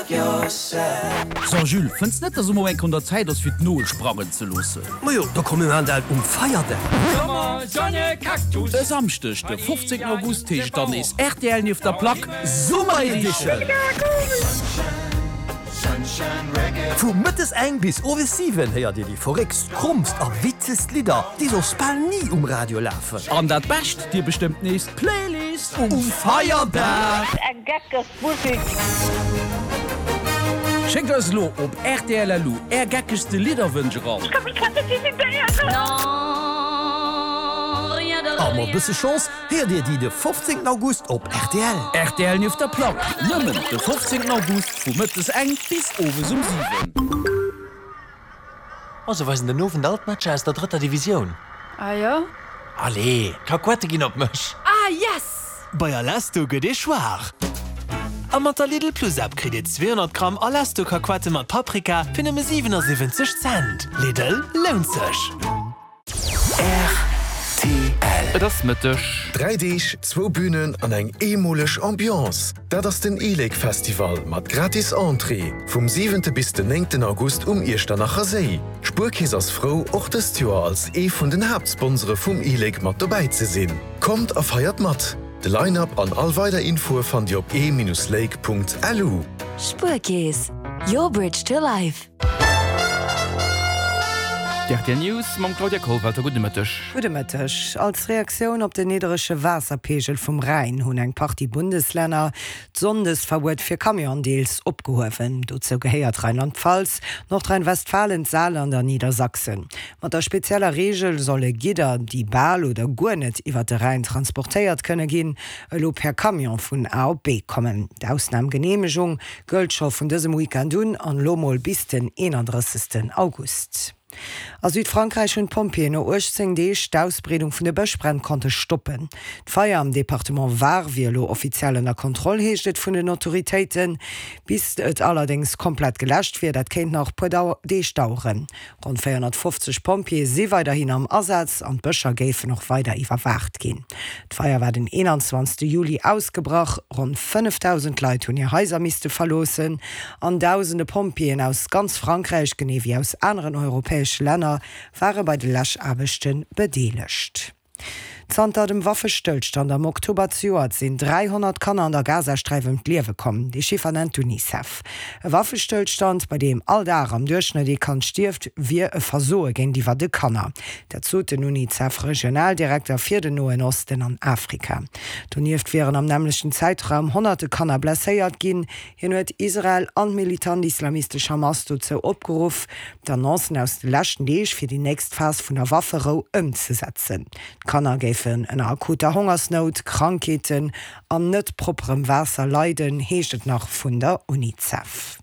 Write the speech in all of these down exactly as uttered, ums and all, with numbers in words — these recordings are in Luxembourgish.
So Jules, fënns net, dass elo eng Kéier un der Zäit ass fir d'Nol sprangen ze loossen? Majo, da komm mir maachen dat um Feierdag. E Samschdeg de fofzéngten August heescht dann nees rtl Nieft der Plack Summer Edition! Vu mëttes eng bis owes siwen héiert Dir déi verréckst, krommst a witzegst Lidder, déi soss bal ni um Radio lafen. An dat Bescht, Dir bestëmmt nees d'Playlist um Feierdag! Eng geckeg Musek! Schéckt eis elo op rtl.lu är geckegste Lidderwënsch eran. Ech ka mech grad net decidéieren. A mat bësse Chance héiert Dir déi de fofzéngten August op rtl. Rtl Nieft der Plack, nëmmen de fofzéngten August vu mëttes eng bis owes um siwen. Oh, se weisen den Owend all d'Matcher aus der drëtter Divisioun. Ah jo? Allez, d'Kakuette ginn op mech! Ah yes! Bei Alesto gëtt ee Schwaach. A mat der Lidl Plus App kritt Dir zweehonnert Gramm Alesto Kakuette mat Paprika fir nëmme siwenasiwwenzeg Cent. Lidl, lount sech! Rtl. Et ass Mëtteg. Dräi Deeg, zwou Bünen an eng eemoleg Ambiance, dat ass den e-Lake Festival mat gratis Entrée vum siwente bis den néngten August um Iechternacher Séi. D'Spuerkeess ass frou, och dëst Joer als ee vun den Haaptsponsore vum e-Lake mat dobäi ze sinn. Kommt a feiert mat! De Line-Up an all weider Infoe fannt Dir op e-lake.lu. Spuerkeess, your bridge to life. D'R T L News mam Claudia Kollwelter. Gudde Mëtteg. Gudde Mëtteg. Als Reaktioun op den nidderege Waasserpeegel vum Rhäin hunn eng Partie Bundeslänner d'Sonndesverbuet fir Camionen deels opgehuewen. Dozou gehéiert Rheinland-Pfalz, Nordrhein-Westfalen, d'Saarland an Niedersachsen. Mat der spezieller Reegel solle Gidder, déi bal oder guer net iwwer de Rhäin transportéiert kënne ginn, elo per Camion vun A op B kommen. D'Ausnamgeneemegung gëllt scho vun dësem Weekend un an elo mol bis den eenandrëssegsten August. A Südfrankräich hunn d'Pompjeeën no uechtzéng Deeg d'Ausbreedung vun de Bëschbränn konnte stoppen. D'Feier am Departement Var wier elo offiziell ënner Kontroll, heescht et vun den Autoritéiten. Bis et allerdéngs komplett geläscht wier, dat kéint nach puer Deeg daueren. Ronn véierhonnertfofzeg Pompjeeë si weiderhin am Asaz an d'Bëscher géifen och weider iwwerwaacht ginn. D'Feier war den eenanzwanzegste Juli ausgebrach. Ronn fënnefdausend Leit hunn hir Haiser misste verloossen an dausende Pompjeeën aus ganz Frankräich, genee wéi aus aneren europäesche Länner, ware bei de Läschaarbechte bedeelegt. Zanter dem Waffestëllstand am Oktober zejoert sinn dräihonnert Kanner an der Gazasträif ëm d'Liewe komm. Déi Chiffer nennt d'UNICEF. E Waffestëllstand, bei deem all Dag am Duerchschnëtt ee Kand stierft, wier e Versoe géintiwwer de Kanner. Dat sot den UNICEF-Regionaldirekter fir den Noen Osten an Afrika. Donieft wieren am nämmlechten Zäitraum honnerte Kanner blesséiert ginn. Hien huet Israel an d'militant islamistesch Hamas dozou opgeruff, d'Annoncen aus de leschten Deeg fir déi nächst Phas vun der Wafferou ëmzesetzen. D'Kanner géifen ënner akuter Hongersnout, Krankheeten an net propperem Waasser leiden, heescht et nach vun der UNICEF.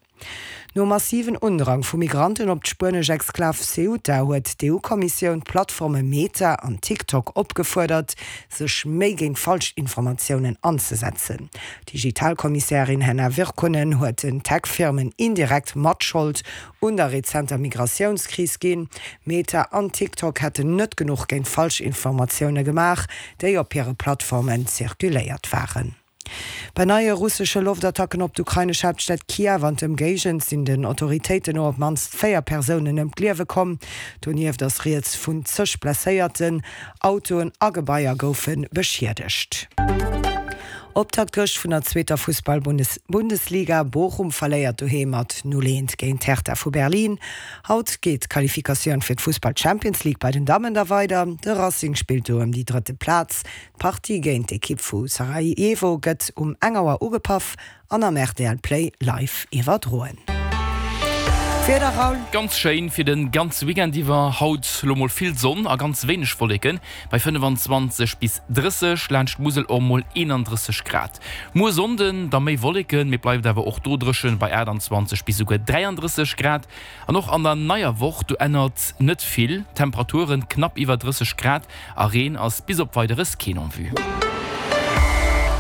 Nom massiven Undrang vu Migranten op d'spuenesch Exklav Ceuta huet d'EU-Kommissioun d'Plattforme Meta an TikTok opgefuerdert, sech méi géint Falschinformatiounen anzesetzen. D'Digitalkommissärin Henna Virkkunen huet den Tech-Firmen indirekt Matschold un der rezenter Migratiounskris ginn. Meta an TikTok hätten net genuch géint Falschinformatioune gemaach, déi op hire Plattformen zirkuléiert waren. Bei neie russesche Loftattacken op d'ukrainesch Haaptstad Kiew an d'Ëmgéigend sinn den Autoritéiten no op d'mannst véier Persounen ëm d'Liewe komm. Donieft ass rieds vun zeg Blesséierten. Autoen a Gebaier goufe beschiedegt. Optakt gëscht vun der zweeter Fussball-Bundesliga, Bochum verléiert doheem mat null eent géint Hertha vu Berlin. Haut geet d'Qualifikatioun fir d'Fussball-Champions League bei den Dammen da weider. De Racing spillt do ëm déi drëtte Plaz. D'Partie géint d'Ekipp vu Sarajevo gëtt um eng Auer ugepaff an am R T L Play live iwwerdroen. D'Wieder, Raoul? Ganz schéin fir den ganze Weekend iwwer. Haut lo mol vill Sonn a ganz wéineg Wolleken bei fënnefanzwanzeg bis drësseg, laanscht d'Musel och mol eenandrësseg Grad. Muer Sonnden da méi Wolleken, mee bleift awer och do dréchen bei aachtanzwanzeg bis souguer dräiandrësseg Grad. An och an der neier Woch, do ännert net vill, Temperaturen knapp iwwer drësseg Grad a Reen ass bis op Weideres keen en vue.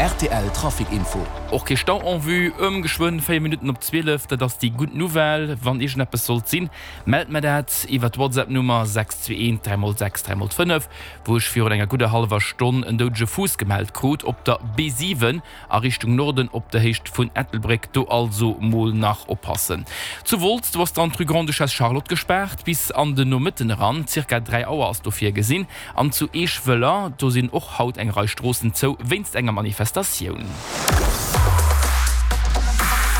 R T L Trafic Info. Och kee Stau en vue. Ëm geschwënn véier Minutten op zwielef, dat ass déi gutt Nouvelle. Wann iergendeppes sollt sinn, mellt mer dat iwwer d'Whatsapp-Nummer sechs zwee eent dräi mol sechs dräi mol fënnef, wou ech virun enger gudder hallwer Stonn en doudege Fuuss gemellt krut op der B siwen a Richtung Norden op der Héicht vun Ettelbréck. Do also mol nach oppassen. Zu Wolz, do ass dann d'Rue Grande-Duchesse Charlotte gespaart bis an den Nomëtten eran, zirka dräi Auer ass do virgesinn. An zu Eeschwëller, do sinn och haut eng Rei Stroossen zou wéinst enger Manifestatioun.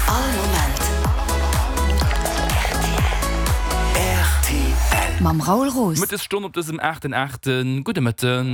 All Moment rtl. Mam Raoul Roos. Mëttesstonn op dësem aachten aachten. Gudde Mëtten.